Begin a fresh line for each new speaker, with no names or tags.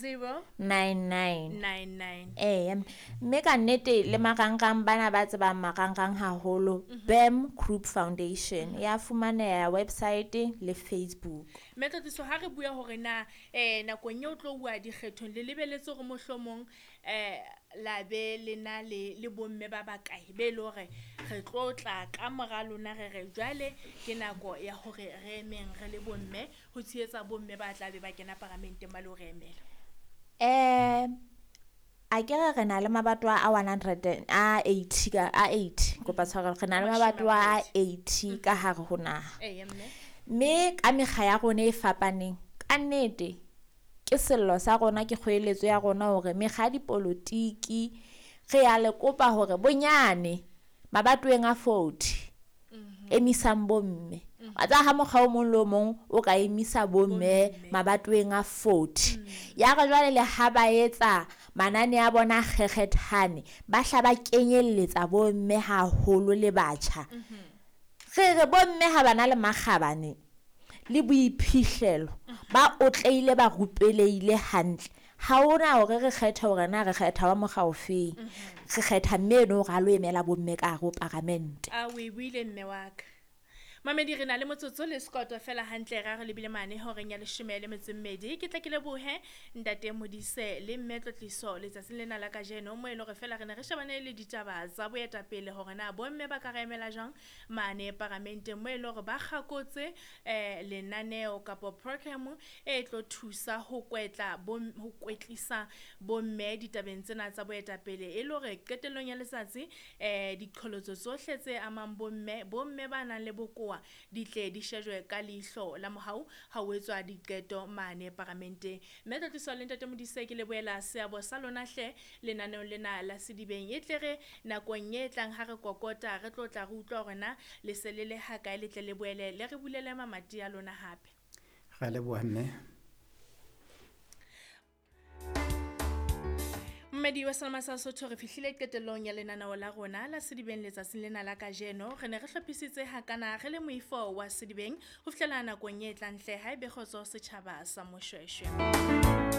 0
99
99.
Ee, mme ka nnete le marangrang, bana ba tsebang marangrang haholo, BAM Group Foundation ya fumaneha website le Facebook.
Mme Tlotliso, ha re bua hore na nakong eo tlo uwa dikgethong le lebeletse hore mohlomong la be le na le bomme ba bakae be le hore re tlo tla ka mora lona, re re jwale ke nako ya hore re emeng re le bomme ho tshehetsa bomme ba tla be ba kena paramenteng ba le ho re emela?
A ke re na le mabatowa a 100 a 80 ka a 80, kopa tshwarelo, re na le mabatowa a 80 ka hare ho naha.
Eya mme.
Mme ka mekga ya rona e fapaneng, ka nnete ke sello sa rona, ke kgoeletso ya rona hore mekga ya dipolotiki re ya le kopa hore bonyane mabatoweng a 40 emisang bomme. Wa tseba ha mokga o mong le o mong o ka emisa bomme mabatoweng a 40, ya re jwale le ha ba etsa manane a bona a kgekgethane, ba hla ba kenyelletsa bomme haholo le batjha. Re re bomme ha bana le makgabane le boiphihlelo, ba otleile, ba rupeleile hantle, ha hona hore re kgethe hore na re kgetha wa mokga ofeng. Re kgetha mme eno hore a lo emela bomme ka hare ho paramente.
A o e buile mme wa ka. Mamedi, re na le motsotso le sekoto fela hantle ra re lebile mane horeng ya 12. Ke tla ke lebohe ntate Modise le mme Tlotliso letsatsing lena la kajeno, mo e le hore fela re ne re shebane le ditaba tsa boetapele hore na bomme ba ka re emela jwang mane paramenteng, mo e le hore ba kgakotse lenaneo kapa program e tlo thusa ho kwetla ho kwetlisa bomme ditabeng tsena tsa boetapele, e le hore qetellong ya letsatsi diqholotso tsohle tse amang bomme, bomme ba nang le bokowa di tle di shejwe ka leihlo la mohau ha ho etswa diqeto mane paramenteng. Mme Tlotliso le ntate Modise, ke lebohela seabo sa lona hle lenaneong lena la Sedibeng. E tle re nakong e tlang ha re kokota re tlo tla re utlwa hore na le se le le hakae, le tle le boele le re bulele mamati a lona hape.
Ra leboha mme.
Mmedi wa Selma sa Sotho, re fihlile qetellong ya lenaneo la rona la Sedibeng letsatsing lena la kajeno. Re ne re hlophisitse hakana re le moifo wa Sedibeng ho fihlela nakong e tlang hle, ha ebe kgotso setjhaba sa Moshweshwe.